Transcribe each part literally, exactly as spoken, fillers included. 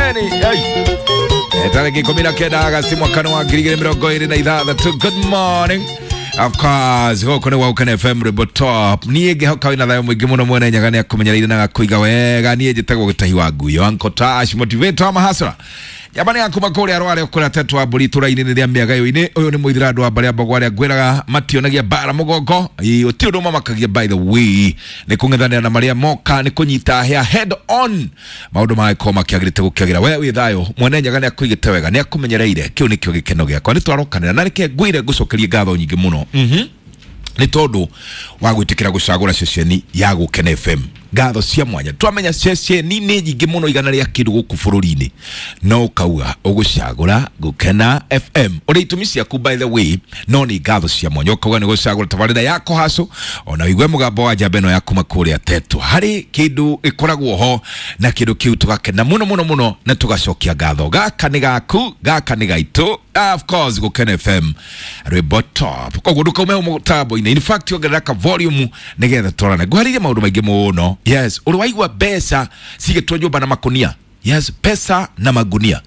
Eni ai tariki ikumi na kenda Agasti mwaka wa ngiri igĩrĩ mĩrongo ĩrĩ na ithathatũ. Good morning. Of course, gũkũ nĩ Waukene F M Rwĩmbo Top. Niĩ ngĩhoka wĩna thayũ mũingĩ mũno, mwene Nyaga nĩ akũmenyereire na agakũiga wega. Niĩ njĩtagwo Gĩtahi wa Nguyo, Uncle Tash, motivator wa mahasra. Nyamba nĩ yakuma kũrĩa Rware kũrĩa Tetwa wa mbũri itũra-inĩ rĩa Mĩagayo-inĩ. Ũyũ nĩ mũithĩra andũ a mbarĩ ya Mbogo arĩa ngwĩraga mationagia mbara mũgongo. Ĩĩ, gũtirĩ ũndũ mamakagia by the way. Nĩ kũng'ethanĩra na marĩa moka, nĩ kũnyita hĩa head on. Maũndũ magĩkorwo makĩagĩrĩte gũkĩagĩra. We wĩ thayũ, mwene Nyaga nĩ akũigĩte wega, nĩ akũmenyereire. Kĩu nĩkĩo gĩkeno gĩakwa. Nĩ twarokanĩra na reke ngwĩre ngũcokerie ngatho nyingĩ mũno. Mhm. Nĩ tondũ wa gwĩtĩkĩra gũcagũra ceceni ya Gũkena F M. Ngatho cia mwanya. Twamenya ceceni nĩ nyingĩ mũno igana rĩa kĩndũ gũkũ bũrũri-inĩ, no ũkauga ũgũcagũra Gũkena F M. Ũrĩ itũmi ciaku by the way, no nĩ ngatho cia mwanya. Ũkauga nĩ gũcagũra tabarĩra ya Kũhacũ, ona ũigue mũgambo wa njamba ĩno ya kuma kũrĩa Tetwa. Harĩ kĩndũ gĩkoragwo ho na kĩndũ kĩu tũgakena mũno mũno mũno na tũgacokia ngatho. Gaka nĩ gaku, gaka nĩ gaitũ. Of course, Gũkena F M Rwĩmbo Top. Koguo ndũkaume mũtambo-inĩ. In fact, ongerera ka volume nĩgetha twarane. Ngwarĩrie maũndũ maingĩ mũno. Yes, ũrĩ waigua mbeca cigĩtwo nyũmba na makunia. Yes, pesa na magunia.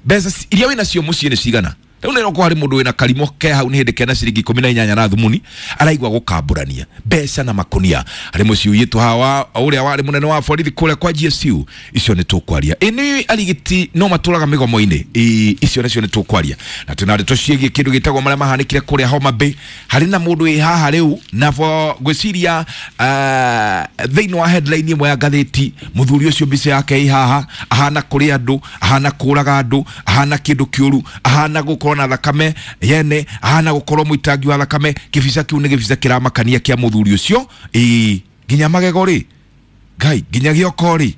Mbeca iria wĩna cio mũciĩ nĩ cigana? Rĩu nĩ roko harĩ mũndũ wĩna karimo ke hau nĩ hĩndĩ kena ciringi ikũmi na inyanya na thumuni araigua gũkambũrania mbeca na makunia. Harĩ mũciĩ ũiyĩtwo hawa ũrĩa warĩ mũnene wa borithi kũrĩa kwa G S U. Icio nĩ tũkwaria. Ĩ nĩ arigiti no matũraga mĩgomo-inĩ. Ĩ icio nacio nĩ tũkwaria. Na twĩna ndeto ciĩgiĩ kĩndũ gĩtagwo marĩa mahanĩkire kũrĩa Homa Bay. Harĩ na mũndũ wĩ haha rĩu na bo ngwĩciria, uh, thĩinĩ wa headline ĩmwe ya ngathĩti, mũthuri ũcio mbica yake ĩ haha, ahana kũrĩa andũ, ahana kũraga andũ, ahana kĩndũ kĩũru, ahana gũkorwo na thakame yene, ahana gũkorwo mũitangi wa thakame. Kĩbica kĩu nĩ gĩbica kĩramakania kĩa mũthuri ũcio. Ĩ nginya magego rĩ, Ngai, nginya gĩoko rĩ.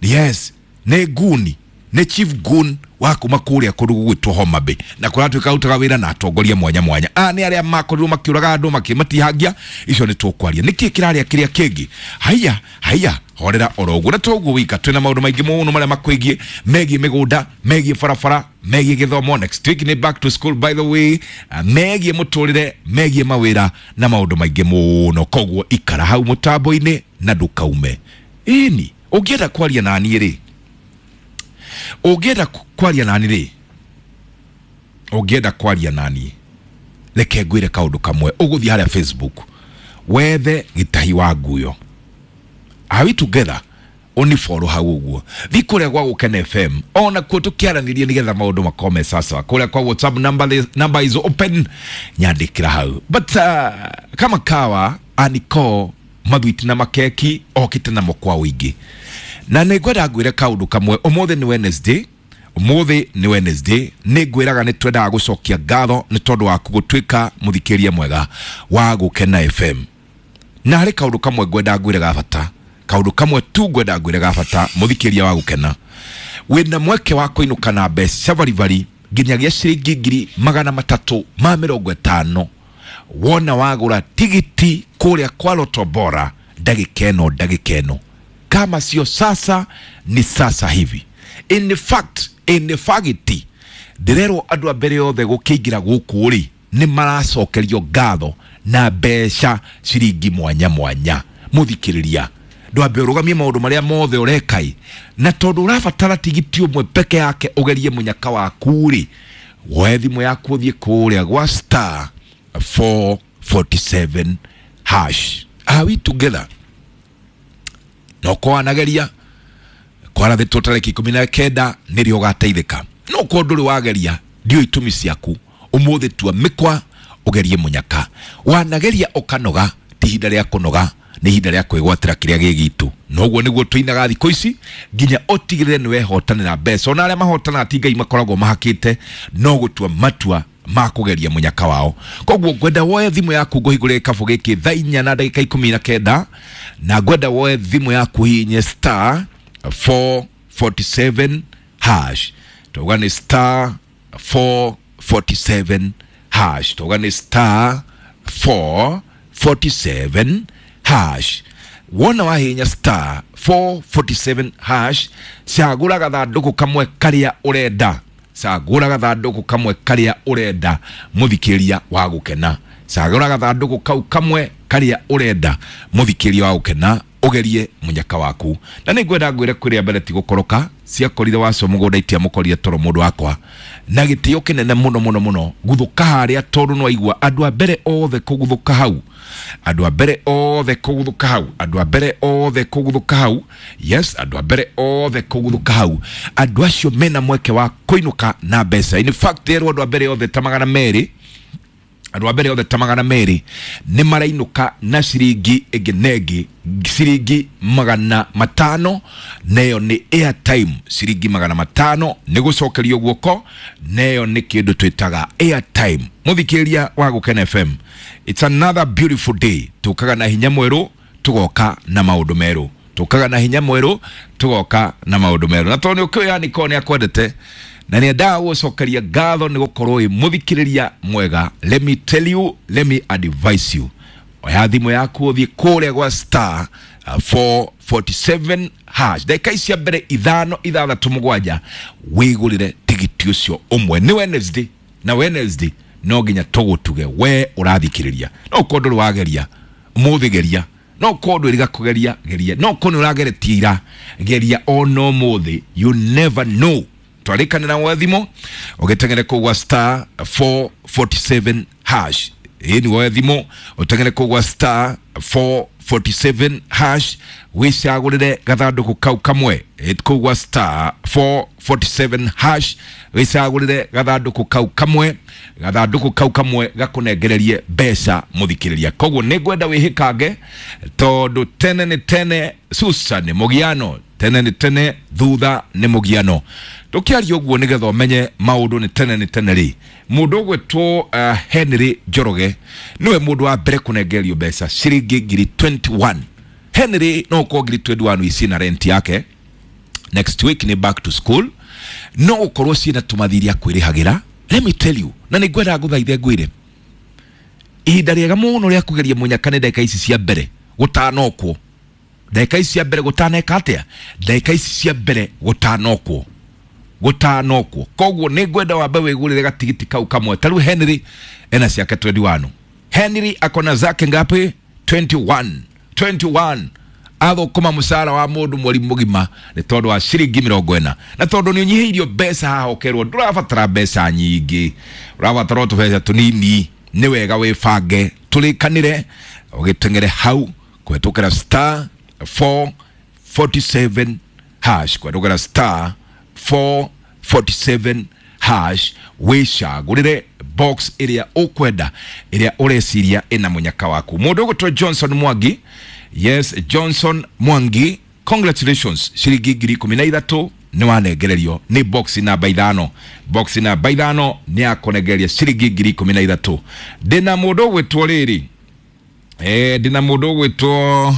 Yes, nĩ nguni, nĩ chief gun wa kuma kũrĩa kũndũ gũgwĩtwo Homa Bay, na kũratuĩka arutaga wĩra na atongoria mwanya mwanya. A nĩ arĩa makorirwo makĩũraga andũ makĩmatihangia. Icio nĩ tũkwaria. Nĩkĩ kĩrarĩa kĩrĩa kĩngĩ? Haiya, haiya, horera oro ũguo. Na toguo wika twĩna maũndũ maingĩ mũno marĩa makwĩgiĩ, megiĩ mĩgũnda, megiĩ barabara, megiĩ gĩthomo. Next week nĩ back to school by the way, megiĩ mũtũrĩre, megiĩ mawĩra na maũndũ maingĩ mũno. Koguo ikara hau mũtambo-inĩ na ndũkaume. Ĩni, ũngĩenda kwaria na niĩ rĩ, ũngĩenda kwaria na niĩ rĩ, ũngĩenda kwaria na niĩ, reke ngwĩre kaũndũ kamwe. Ũgũthiĩ harĩa Facebook wethe Gĩtahi wa Nguyo. Are we together? Unifollow hau ũguo. Thiĩ kũrĩa gwa Gũkena F M, ona kuo tũkĩaranĩria nĩgetha maũndũ makorwo me sasa. Kũrĩa kwa WhatsApp number, the number is open, nyandĩkĩra hau. But uh, kama kawa aniko mathwiti na makeki okĩte namo kwa ũingĩ. Na nĩ ngwenda ngwĩre kaũndũ kamwe. Ũmũthĩ nĩ Wednesday. Ũmũthĩ nĩ Wednesday. Nĩ ngwĩraga nĩ twendaga gũcokia ngatho nĩ tondũ waku gũtuĩka mũthikĩria mwega wa Gũkena F M. Na harĩ kaũndũ kamwe ngwenda ngwĩre ga bata. Kaũndũ kamwe tu ngwenda ngwĩre ga bata mũthikĩria wa Gũkena. Wĩna mweke wa kũinũka na mbeca baribari nginyagia ciringi ngiri magana matatũ ma mĩrongo ĩtano wona wagũra tigiti kũrĩa kwa Lotto Bora ndagĩka ĩno, ndagĩka ĩno. Kama sio sasa ni sasa hivi. In fact, in fact, ndĩrerwo andũ a mbere othe gũkĩingĩra gũkũ rĩ nĩ maracokerio ngatho na mbeca ciringi mwanya mwanya. Mũthikĩrĩria, ndwambe ũrũgamie maũndũ marĩa mothe ũreka-ĩ, na tondũ ũrabatara tigiti ũmwe peke yake ũgerie mũnyaka waku rĩ, woe thimũ yaku ũthiĩ kũrĩa gwa star four forty-seven hash. Are we together? No kwanageria kwarathĩtwo tarĩki ikũmi na kenda nĩrĩo ũgateithĩka. No korwo ndũrĩ wageria, ndiũĩ itũmi ciaku. Ũmũthĩ tua mĩkwa ũgerie mũnyaka. Wanageria ũkanoga, ti ihinda rĩa kũnoga, nĩ ihinda rĩa kwĩgwatĩra kĩrĩa gĩ gitũ. Noguo nĩguo tũinaga thikũ ici nginya ũtigĩrĩre nĩ wehotanĩra mbeca. Ona arĩa mahotanaga ti Ngai makoragwo mahakĩte, no gũtua matua ma kũgeria mũnyaka wao. Koguo ngwenda woe thimũ yaku ngũhingũre gĩkabũ gĩkĩ thaa inya na ndagĩka ikũmi na kenda, na ngwenda woe thimũ yaku hihinye star four forty-seven hash. Tauga nĩ star four forty-seven hash. Tauga nĩ star four forty-seven hash. Wona wahihinya star four forty-seven hash, cagũra gathandũkũ kamwe karĩa ũrenda. Cagũra gathandũkũ kamwe karĩa ũrenda mũthikĩria wa Gũkena. Cagũra gathandũkũ kau kamwe karĩa ũrenda mũthikĩria wa Gũkena, Ugerie munyaka waku. Na nĩ ngwenda ngwĩre kwĩrĩa mbere ti gũkoroka ciakorire wacio mũgũnda itiamũkorire toro mũndũ wakwa na gĩtĩo kĩnene mũno mũno mũno guthũka harĩa tondũ nĩwaigua andũ a mbere othe kũguthũka hau, andũ a mbere othe kũguthũka hau, andũ a mbere othe kũguthũka hau, yes, andũ a mbere othe kũguthũka hau, andũ acio mena mweke wa kũinũka na mbeca. In fact erwo andũ a mbere othe ta magana merĩ, andũ a mbere othe ta magana merĩ nĩ marainũka na ciringi ĩngĩ na ĩngĩ ciringi magana matano, neyo nĩ airtime. Ciringi magana matano nĩ gũcokerio guoko, neyo nĩ kĩndũ twĩtaga airtime. Mũthikĩrĩria wa Gũkena F M, it's another beautiful day. Tũkaga na hinya mwerũ, tũgoka na maũndũ merũ, tũkaga na hinya mwerũ, tũgoka na maũndũ merũ. Na tondũ nĩ ũkĩũĩ yani korwo nĩ akwendete na nĩ endaga gũcokeria ngatho nĩ gũkorwo wĩ mũthikĩrĩria mwega, let me tell you, let me advise you, oya thimũ yaku ũthiĩ kũrĩa gwa star four forty-seven hash, ndagĩka ici cia mbere ithano ithathatũ mũgwanja wĩgũrĩre tigiti ũcio ũmwe. Nĩ Wednesday na Wednesday no nginya tũgũtuge we ũrathikĩrĩria. No ũkorwo ndũrĩ wageria ũmũthĩ, geria. No ũkorwo ndwĩriga kũgeria, geria. No ũkorwo nĩ ũrageretie ira, geria ona ũmũthĩ. You never know. Twarĩkanĩra gwa thimũ ũgĩteng'ere kũu gwa star four forty-seven hash. Ĩĩ nĩ woe thimũ ũteng'ere kũu gwa star four forty-seven hash wĩcagũrĩre gathandũkũ kau kamwe. Ĩĩ kũu gwa star four forty-seven hash wĩcagũrĩre gathandũkũ kau kamwe, gathandũkũ kau kamwe gakũnengererie mbeca mũthikĩrĩria. Koguo nĩ ngwenda wĩhĩkange tondũ tene nĩ tene Susan nĩ mũgiano, tene nĩ tene thutha nĩ mũgiano. Tũkĩaria ũguo nĩgetha ũmenye maũndũ nĩ tene nĩ tene rĩ, mũndũ ũgwĩtwo uh, Henry Njoroge nĩwe mũndũ wa mbere kũnengererio mbeca ciringi ngiri twenty-one. Henry no ũkorwo ngiri twenty-one ici na rent yake, next week nĩ back to school, no ũkorwo ciĩna tũmathiria kwĩrĩhagĩra. Let me tell you, na nĩ ngwendaga ngũthaithe ngwĩre ihinda rĩega mũno rĩa kũgeria mũnyaka nĩ ndagĩka ici cia mbere gũtanokwo, ndagĩka ici cia mbere gũtaneka atĩa, ndagĩka ici cia mbere gũtanokwo, gũtanokwo. Koguo nĩ ngwenda wambe wĩgũrĩre gatigiti kau kamwe. Ta rĩu Henry ena ciake twenty-one. Henry akona zake ngapi? twenty-one. twenty-one. Athũkũma mũcara wa mũndũ mweri mũgima nĩ tondũ wa ciringi mĩrongo ĩna, na tondũ nĩ ũnyihĩirio mbeca haha ũkerwo ndũrabatara mbeca nyingĩ, ũrabatara o tũbeca tũnini. Nĩ wega wĩbange, tũrĩkanĩre ũgĩteng'ere hau kũhetũkĩra star four forty-seven hash, kũhetũkĩra star four forty-seven hash wĩcagũrĩre box ĩrĩa ũkwenda, ĩrĩa ũreciria ĩna mũnyaka waku. Mũndũ ũgwĩtwo Johnson Mwangi, yes, Johnson Mwangi, congratulations, ciringi ngiri ikũmi na ithatũ nĩ wanengererio nĩ box namba ithano. Box namba ithano nĩ yakũnengereria ciringi ngiri ikũmi na ithatũ. Ndĩna mũndũ ũgwĩtwo rĩrĩ, eh, ndĩna mũndũ ũgwĩtwo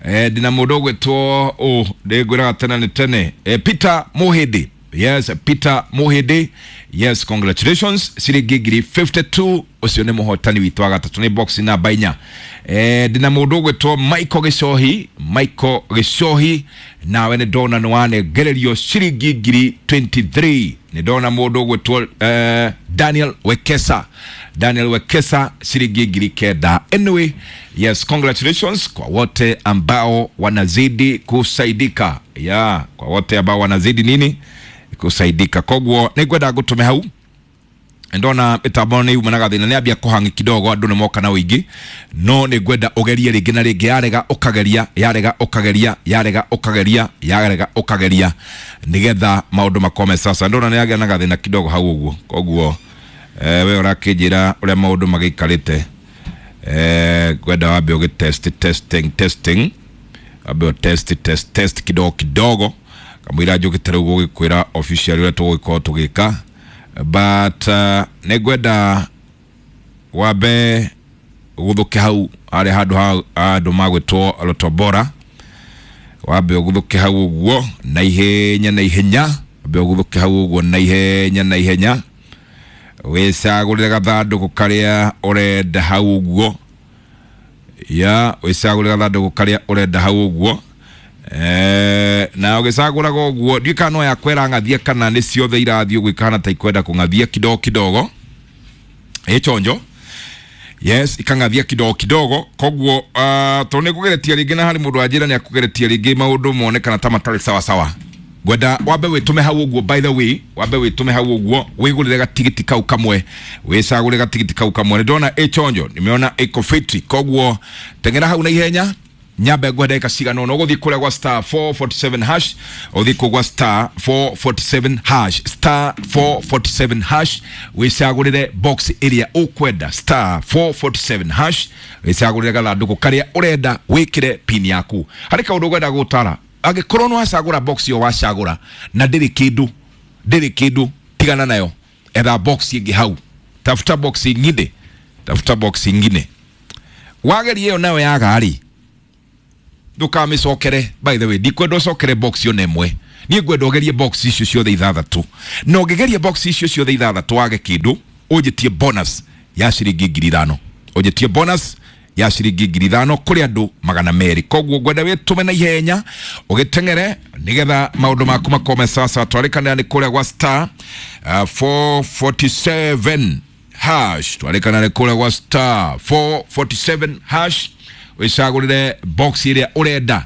eh, ndĩna mũndũ ũgwĩtwo ũ ndĩngwĩraga tene nĩ tene, eh, Peter Muhindi, yes, Peter Muhindi, yes, congratulations, ciringi ngiri fifty-two. Ũcio nĩ mũhotani witũ wa gatatũ nĩ box namba inya. Eh, ndĩna mũndũ ũgwĩtwo Michael Gĩcohi, Michael Gĩcohi, nawe nĩ ndona nĩ wanengererio ciringi ngiri twenty-three. Nĩ ndona mũndũ ũgwĩtwo eh, Daniel Wekesa, Daniel Wekesa ciringi ngiri kenda. Anyway, yes, congratulations kwa wote ambao wanazidi kusaidika. Yeah, kwa wote ambao wanazidi nini? Kusaidika. Koguo nĩ ngwenda ngũtũme hau ndona mitambo nĩ yuma na gathĩna nĩ ambia kũhang'i kidogo andũ nĩ moka na ũingĩ, no nĩ ngwenda ũgerie rĩngĩ na rĩngĩ, yarega ũkageria, yarega ũkageria, yarega ũkageria, yarega ũkageria nĩgetha maũndũ makome. Sasa ndona nĩ yagĩa na gathĩna kidogo hau ũguo, koguo eh, we ũrakĩnjĩra ũrĩa maũndũ magĩikarĩte. Eh, ngwenda wambe ũgĩ test, testing, testing, wambe ũ test, test, test kidogo kidogo kamũira njũkĩte rĩu gũgĩkwĩra official ũrĩa tũgũgĩkorwo tũgĩka, but uh, nĩ ngwenda wambe ũgũthũke hau harĩa handũ ha andũ magwĩtwo Lotobora, wambe ũgũthũke hau ũguo na ihenya na ihenya, wambe ũgũthũke hau ũguo na ihenya na ihenya, wĩcagũrĩre gathandũkũ karĩa ũrenda hau ũguo, ya wĩcagũrĩre gathandũkũ karĩa ũrenda hau ũguo. Eh, na ũgĩcagũraga ũguo ndiũĩ kana no yakwera ng'athia kana nĩ ciothe irathiĩ ũguo ikahana ta ikwenda kũng'athia kidogo kidogo. Ĩ chonjo Yes, ikang'athia kidogo kidogo. Koguo uh, tondũ nĩ ngũgeretie rĩngĩ na harĩ mũndũ wanjĩra nĩ akũgeretie rĩngĩ maũndũ monekana ta matarĩ sawa sawa. Ngwenda wambe wĩtũme hau ũguo, by the way, wambe wĩtũme hau ũguo wĩgũrĩre gatigiti kau kamwe, wĩcagũre gatigiti kau kamwe. Nĩ ndona ĩchonjo, nimeona ĩko fiti, koguo teng'era hau na ihenya. Nyambe ngwe ndagĩka cigana ũna ũgũthiĩ kũrĩa gwa star four forty-seven hash, ũthiĩ kũu gwa star four forty-seven hash, star four forty-seven hash, wĩcagũrĩre box ĩrĩa ũkwenda, star four forty-seven hash, wĩcagũrĩre gathandũkũ karĩa ũrenda, wĩkĩre pin yaku. Harĩ kaũndũ ngwenda gũtara, angĩkorwo nĩ wacagũra box ĩyo wacagũra na ndĩrĩ kĩndũ, ndĩrĩ kĩndũ, tigana nayo, etha box ĩngĩ hau, tafuta box ingine, tafuta box ingine. Wageria ĩyo nayo yaga rĩ, ndũkamĩcokere. By the way, ndikwenda ũcokere box ĩyo na ĩmwe, niĩ ngwenda ũgerie box icio ciothe ithathatũ, na ũngĩgeria box icio ciothe ithathatũ wage kĩndũ, ũnjĩtie bonus ya ciringi ngiri ithano, ũnjĩtie bonus ya ciringi ngiri ithano kũrĩ andũ magana merĩ. Koguo ngwenda wĩtũme na ihenya ũgĩteng'ere nĩgetha maũndũ maku makome sawa. Twarĩkanĩra nĩ kũrĩa gwa star uh, four forty-seven hash, twarĩkanĩra nĩ kũrĩa gwa star four forty-seven hash, wĩcagũrĩre box ĩrĩa ũrenda.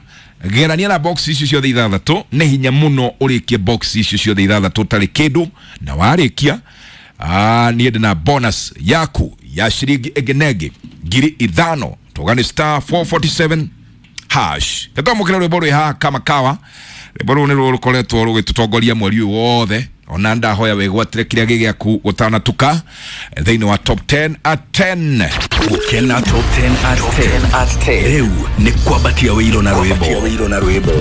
Gerania na box icio ciothe ithathatũ, nĩ hinya mũno ũrĩkie box icio ciothe ithathatũ ũtarĩ kĩndũ, na warĩkia ah, niĩ ndĩ na bonus yaku ya ciringi ĩngĩ na ĩngĩ ngiri ithano. Tuga nĩ star four forty-seven hash. Nĩtwamũkĩra rwĩmbo rwĩ haha kama kawa. Rwĩmbo rũu nĩ rũkoretwo rũgĩtũtongoria mweri ũyũ wothe, ona ndahoya wĩgwatĩre kĩrĩa gĩ gĩaku gũtanatuka thĩinĩ wa top ten at ten. Gukena top ten at ten. Rĩu nĩ kwambatia wĩiro na rwĩmbo.